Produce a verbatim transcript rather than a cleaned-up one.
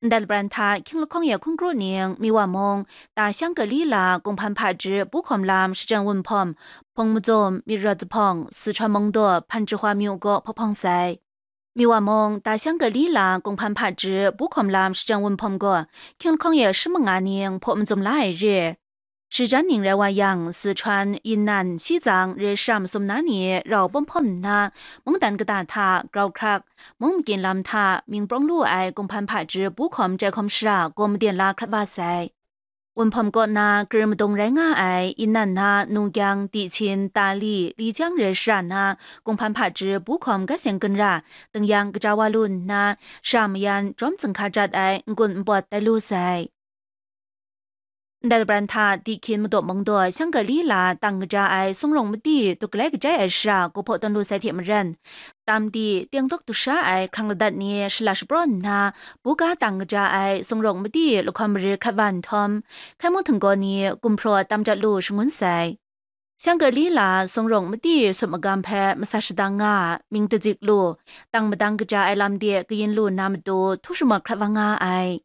Ndai labran hta hkying lahkawng ya hkungkru ning, Miwa mung, ta shang kali la kunghpan hpaji bu hkawm lam shajang wunhpawm, hpung mazum, myit rawt zuphpawng, Sichuan mung daw hpan jahwa myu gaw hpawhpawng sai. Miwa mung, ta shang kali la kunghpan hpaji bu hkawm lam shajang wunhpawm gaw, hkying lahkawng ya shi manga ning hpaw mazum la ai re. Shajan ning rai wa yang, Sichuan, Yinnan, Shizang, re shara masum na ni rau pawm hpawm nna, mungdan kata hta grau hkrak, mung makyin lam hta mying prawng lu ai kunghpan hpaji bu hkawm jai hkawm shara gaw maden la hkrat wa sai. Wunhpawm kaw na kar madung rai nga ai Yinnan na Nugyang, Dihchin, Tali, Lijiang re shara na kunghpan hpaji bu hkawm gat seng ginra, dingyang kaja wa lu nna, shara mayan jawm zing hka jat ai n-gun n pawt tai lu sai. Ndai labran hta Dihkin madaw mung daw shang kali la tang kaja ai sung rawng madi duk galai kajai ai shara gaw hpaw tawn lu sai hte maren, tam di, teng dawk du sha ai hkrang ladat ni shala shapraw nna, buga tang kaja ai sung rawng madi lahkawm mare hkrat wa nhtawm, hkai mung htinggaw ni gumhpraw tam jat lu shangun sai. Shang kali la sung rawng madi sut magam hpe masa shadang nga, mying dazik lu, tang madang kaja ai lam de kayin lu na matu htu shamat hkrat wa nga ai.